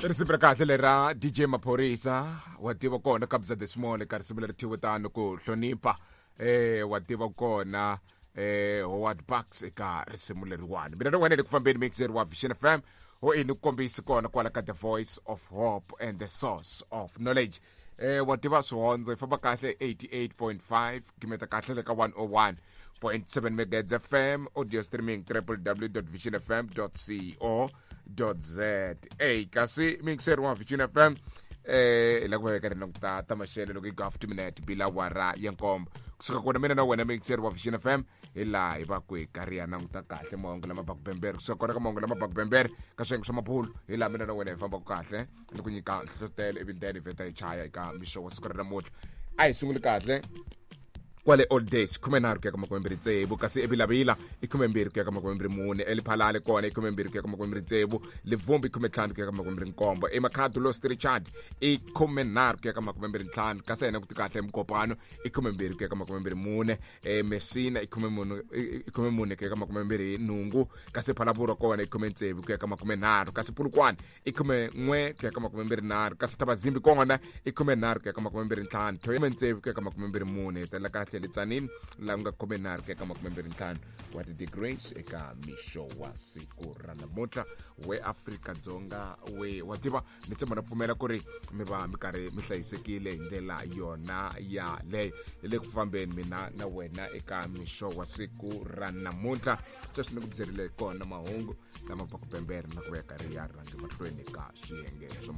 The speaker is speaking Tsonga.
Risimu ra kahle lera DJ Maphorisa, wa tiva kona Kabza the Small ka risimu leri thyiwe tano ku hlonipha. Wa tiva kona Howard Bucks eka risimu leriwani. Mina na wena le ku fambeni mixer wa Vision FM ho ini ku kombisi kona kwala ka The Voice of Hope and the Source of Knowledge. Wa tiva swihondzo hi famba kahle 88.5 gimeta kahle le ka 101.7 megahertz FM, audio streaming www.visionfm.co.za. Kasi mixer wa Vision FM hi la ku va ka ri languta ta maxelo loko yi go minute bila wara ya nkombo kusuka kona mina na wena mixer wa Vision FM hi laha hi va ku hi karhi ya languta kahle mahungu lama baku bembere. Kusuka kona ka mahungu lama baku bembere ka swiyenge swa mabulu hi laha mina na wena hi fambaka kahle ni ku nyika nhlohlotelo ivi then hi vheta hi chaya eka mixo wa siku ra namuntlha. A hi sunguli kahle kwale Old Days 13 ku ya ka 26, kasi eVilavila i 12 ku ya ka 24, eLiphalale kona i 12 ku ya ka 26, Livumbi 15 ku ya ka 27, eMakhado Lost Richard i 13 ku ya ka 25, kasi hina ku ti kahle eMukopano i 12 ku ya ka 24, eMessina i 14 ku ya ka 28, kasi Phalaborwa kona i 16 ku ya ka 30, kasi Polokwane i 11 ku ya ka 23, kasi Thabazimbi kona i 13 ku ya ka 25, Thohoyandou ku ya ka 24, hetelela kahle le Tzaneen laha ku nga 13 ku ya ka 25 wa ti-degrees eka mixo wa siku ra namuntlha. We Afrika-Dzonga, we wa tiva ni tshemba na pfumela ku ri mi va mi karhi mi hlayisekile hi ndlela yona yaleyo. Hi le ku fambeni mina na wena eka mixo wa siku ra namuntlha. Sweswi ni ku byerile kona mahungu lama va ku pembere na ku va ya karhi ya rhange mahlweni ka swiyenge swa